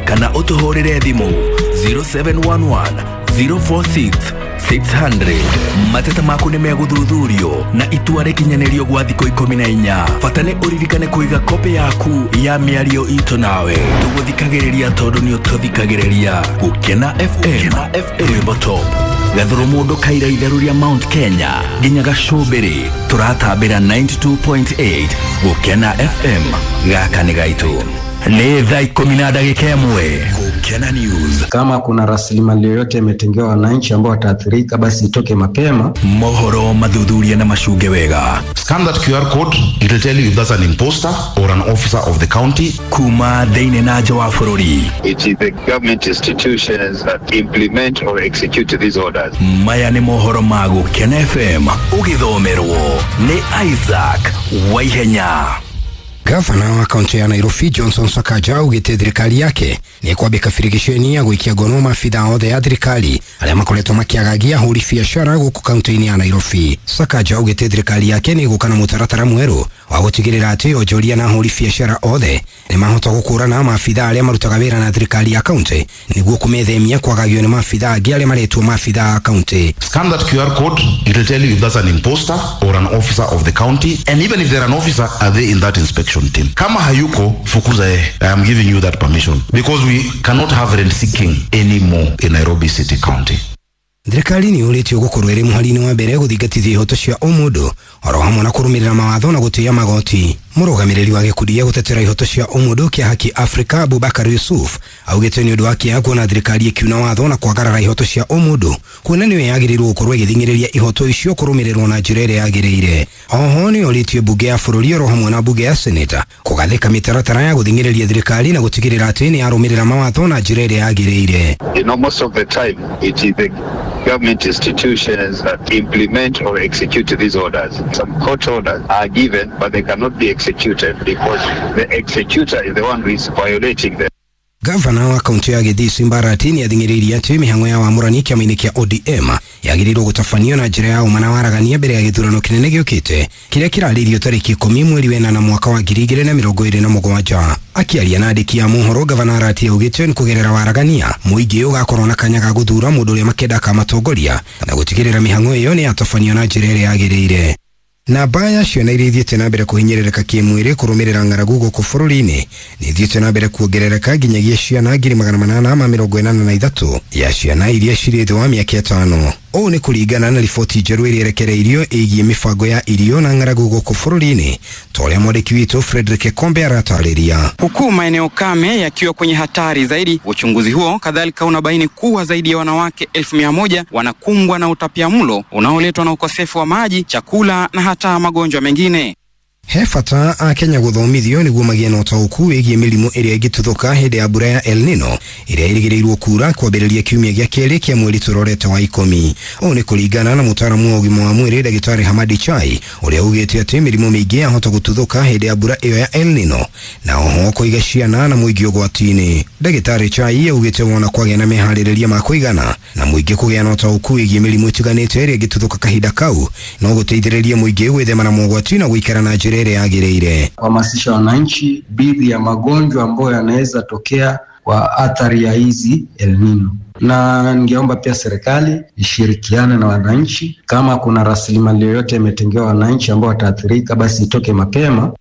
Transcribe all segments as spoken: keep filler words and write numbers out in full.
Kana ũtũhũrĩre thimũ zero seven one one zero four six six hundred. Mateta maku nĩ megũthuthurio na itua rĩkinyanĩrio gwa thikũ ikũmi na inya. Bata nĩ ũririkane kũiga kopĩ yaku ya mĩario itũ nawe. Tũgũthikagĩrĩria tondũ nĩ ũtũthikagĩrĩria. Gũkena F M, rwĩmbo top. Gathuru mũndũ kaira itherũ rĩa Mount Kenya nginya gacũmbĩrĩ, tũratambĩra ninety two point eight Gũkena F M. Gaka nĩ gaitũ. Ni thaa ikũmi na ndagĩka ĩmwe. Gũkena News. Kama kuna rasilimali yoyote imetengewa wananchi ambao wataathirika, basi itoke mapema. Mohoro mathuthuria na macunge wega. Scan that Q R code, it will tell you if that's an imposter or an officer of the county. Kuma thĩinĩ na nja wa bũrũri. It is the government institutions that implement or execute these orders. Maya nĩ mohoro ma Gũkena F M, ũgĩthomerwo nĩ Isaac Waihenya. Gavana wa kaunti ya Nairobi Johnson Sakaja augĩte thirikari yake nĩ kwambĩka birigiceni ya gũikia ngono maabitha othe ya thirikari arĩa makoretwo makĩagagia ahũri biacara gũkũ kaunti-inĩ ya Nairobi. Sakaja augĩte thirikari yake nĩ ĩgũka na mũtaratara mwerũ wa gũtigĩrĩra atĩ onjoria na ahũri biacara othe nĩ mahota gũkũrana maabitha arĩa marutaga wĩra na thirikari ya kaunti nĩguo kũmethemia kwagagio nĩ maabitha angĩ arĩa maretwo maabitha a kaunti. Scan that Q R code, it will tell you if that's an imposter or an officer of the county, and even if they're an officer, are they in that inspection team? Kama hayuko, fukuza yeye. I am giving you that permission because we cannot have rent seeking anymore in Nairobi City County. Thirikari nĩ yũrĩtio gũkorwo ĩrĩ mũhari-inĩ wa mbere gũthingatithia ihoto cia ũmũndũ oro hamwe na kũrũmĩrĩra mawatho na gũtĩĩa magoti. Mũrũgamĩrĩri wa gĩkundi gĩa gũtetera ihoto cia ũmũndũ kĩa Haki Africa Abubakar Yusuf augĩte nĩ ũndũ wa kĩeha kuona thirikari ĩkiuna watho na kwagarara ihoto cia ũmũndũ, kuona nĩyo yagĩrĩirwo gũkorwo ĩgĩthing'ĩrĩria ihoto icio kũrũmĩrĩrwo na njĩra ĩrĩa yagĩrĩire. Oho nĩ yorĩtie mbunge ya bũrũri oro hamwe na mbunge ya seneta kũgathĩka mĩtaratara ya gũthing'ĩrĩria thirikari na gũtigĩrĩra atĩ nĩ yarũmĩrĩra mawatho na njĩra ĩrĩa yagĩrĩire. You know, most of the time it is the government institutions that implement or execute these orders. Some court orders are given, but they cannot be executed because the executor is the one who is violating them. Gavana wa kaunti ya Githii Simba Arati nĩathing'ĩrĩirie atĩ mĩhang'o ya wamũrani kĩama-inĩ kĩa O D M yagĩrĩirwo gũtabanio na njĩra ya ũma na waragania mbere ya gĩthurano kĩnene gĩũkĩte kĩrĩa kĩrarĩirio tarĩki ikũmi mweri wa ĩnana mwaka wa ngiri igĩrĩ na mĩrongo ĩrĩ na mũgwanja. Akĩaria na andĩki a mohoro, Gavana Arati augĩte nĩ kũgerera waragania mũingĩ ũgakorwo na kanya ga gũthura mũndũ ũrĩa makenda akamatongoria na gũtigĩrĩra mĩhang'o ĩyo nĩ yatabanio na njĩra ĩrĩa yagĩrĩire. Namba ya ciana iria ithiĩte na mbere kũhinyĩrĩrĩka kĩmwĩrĩ kũrũmĩrĩra ng'aragu gũkũ bũrũri-inĩ nĩ ithiĩte na mbere kuongerereka nginyagia ciana ngiri magana manana ma mĩrongo ĩnana na ithatũ ya ciana iria cirĩ thĩ wa mĩaka ĩtano. Ũũ nĩ kũringana na riboti njerũ ĩrĩa ĩrekereirio ĩgiĩ mĩbango ya irio na ng'aragu gũkũ bũrũri-inĩ, ta ũrĩa mwandĩki witũ Frederick Kombe aratarĩria. Huku maeneo kame yakiwa kwenye hatari zaidi, uchunguzi huo kadhalika unabaini kuwa zaidi ya wanawake elfu mia moja wanakumbwa na utapiamlo unaoletwa na ukosefu wa maji, chakula na hata magonjwa mengine. He bata akenya gũthomithio nĩguo magĩe na ũtaũku wĩgiĩ mĩrimũ ĩrĩa ĩngĩtuthũka hĩndĩ ya mbura ya El Nino ĩrĩa ĩrĩgĩrĩirwo kuura kwambĩrĩria kiumia gĩa kerĩ kĩa mweri tũrorete wa ikũmi. Ũũ nĩ kũringana na mũtaaramu wa ũgima wa mwĩrĩ Ndagĩtarĩ Hamadi Chai ũrĩa augĩte atĩ mĩrimũ mĩingĩ yahota gũtuthũka hĩndĩ ya mbura ĩyo ya El Nino na oho kũiga ciana na mũingĩ ũgwati-inĩ. Ndagĩtarĩ Chai augĩte wona kwagĩa na meharĩrĩria ma kũigana na mũingĩ kũgĩa na ũtaũku wĩgiĩ mĩrimũ ĩtiganĩte ĩrĩa ĩngĩtuthũka kahinda kau no gũteithĩrĩrie mũingĩ gwĩthema na mogwati na gũikara na njĩra yagĩrĩire. Kuhamasisha wananchi dhidi ya magonjwa ambayo yanaweza tokea kwa athari ya hizi El Nino. Na ningeomba pia serikali ishirikiane na wananchi. Kama kuna rasilimali yoyote imetengewa wananchi ambao wataathirika, basi itoke mapema.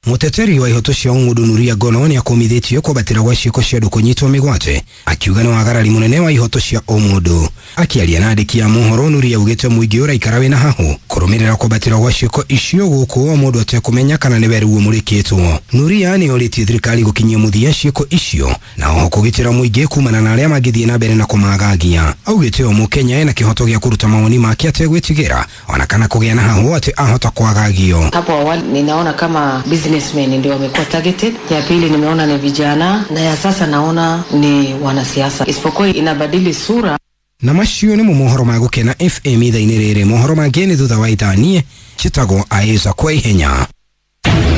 Mũteteri wa ihoto cia ũmũndũ Nuria Gono nĩakũmithĩtio kwambatĩra gwa ciĩko cia andũ kũnyitwo mĩgwate akiuga nĩ wagarari mũnene wa ihoto cia ũmũndũ. Akĩaria na andĩki a mohoro, Nuria augĩte mũingĩ ũraikara wĩna hahũ kũrũmĩrĩra kwambatĩra gwa ciĩko icio gũkũ o mũndũ atekũmenya kana nĩwe rĩu ũmũrĩkĩtwo. Nuria nĩorĩtie thirikari gũkinyia mũthia ciĩko icio na oho kũgitĩra mũingĩ kumana na arĩa mangĩthiĩ na mbere na kũmagagia. Augĩte o mũkenya ena kĩhoto gĩa kũruta mawoni make ategwĩtigĩra ona kana kũgĩa na hahũ atĩ ahota kwagagio. Hapo awali ninaona kama businessmen ndio wamekuwa targeted. Ya pili nimeona ni vijana, na ya sasa naona ni wanasiasa. Isipokuwa inabadili sura. Na macio nĩ mohoro ma Gũkena F M ithaa-inĩ rĩrĩ. Mohoro mangĩ nĩ thutha wa ithaa. Niĩ njĩtagwo Isaac Waihenya.